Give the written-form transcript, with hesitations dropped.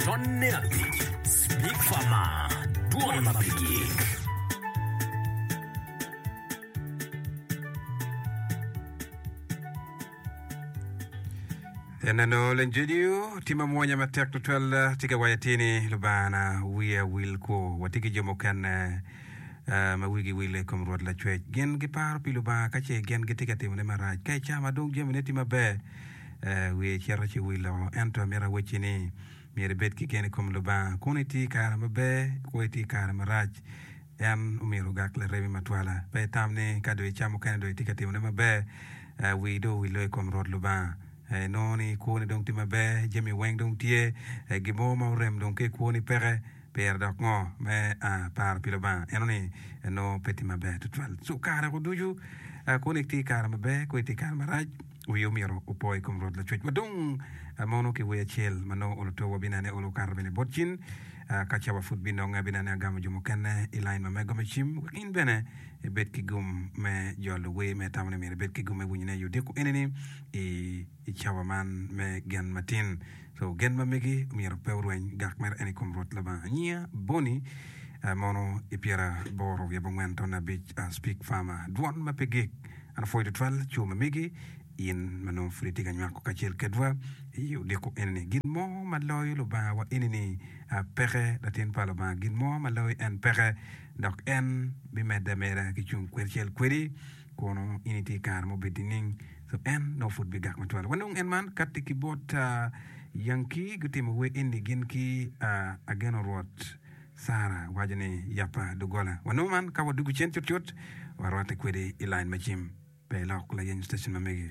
Tonne abic, Speak Farmer, Dwon ma pe gik. Eneno Lenjedio tye ma mwonya matek tutwal tye ka waco atir ni Lubangana wiya wil kwo. Watye ki jo mukene eh, ma wigi wile i kom Rwot Lacwec. Gin giparo pi Lubanga ka ce gin gitye ka timone marac. Ka i ca ma dong jamine tye maber, eh, wiye cito ci wilo. Ento amito awacci ni myero ibed ki gen i kom Lubanga. Kun itye i kare maber, kwo itye i kare marac, En omyero ogak laremi matwala. Pe itam ni ka dong ica mukene dong itye ka timone maber, wii dong owil dong i kom Rwot Lubanga. Inongo ni kwoni dong tye maber, jami weng dong tye, gin mo ma orem dong ki i kwoni peke, pire dok ngo me paro pi Lubanga? Eno ni nongo pe tye maber tutwal. Co kare ducu kwoni tye i kare maber, kwoni tye i kare marac, wii omyero opo i kom Rwot Lacwec. Wa dong mono ki wer acel ma nongo olo to wabinene olo okato bene bot cin. Ka cawa pud binonge, abineno ni agamo jo mukene i lain ma mego me cim wek in bene ibed ki gum me jolo wer ma itamo ni myero ibed ki gum me winyone i odiko eni-ni i cawa man me gen matin. So gen ma megi myero pe orweny gak mere en i kom Rwot Lubanga. Nyinga Bonnie mono i pyeraboro wiye abongwen ton abic Speak Farmer dwon ma pe gik. An apwoyo tutwal co ma megi. In ma nongo pud itye ka nywako kacel kedwa i odiko eni-ni, gin mo ma loyo Lubangawa eni-ni peke, Latin pa Lubanga, gin mo ma loyo en peke, dok en bimedde ameda ki cung kacel kwedi kono in itye i kare ma obed nining? So en nongo pud bigak matwal. Wanong en man katti ki bot Yankee gutimo wer eni gin ki Ageno Rwot. Sara waco ni, Yabba doggola. Wanongo man ka wadwogo cen cutcut, warwatte kwedi i lain me cim. Pe ilok layeny citecen ma megi.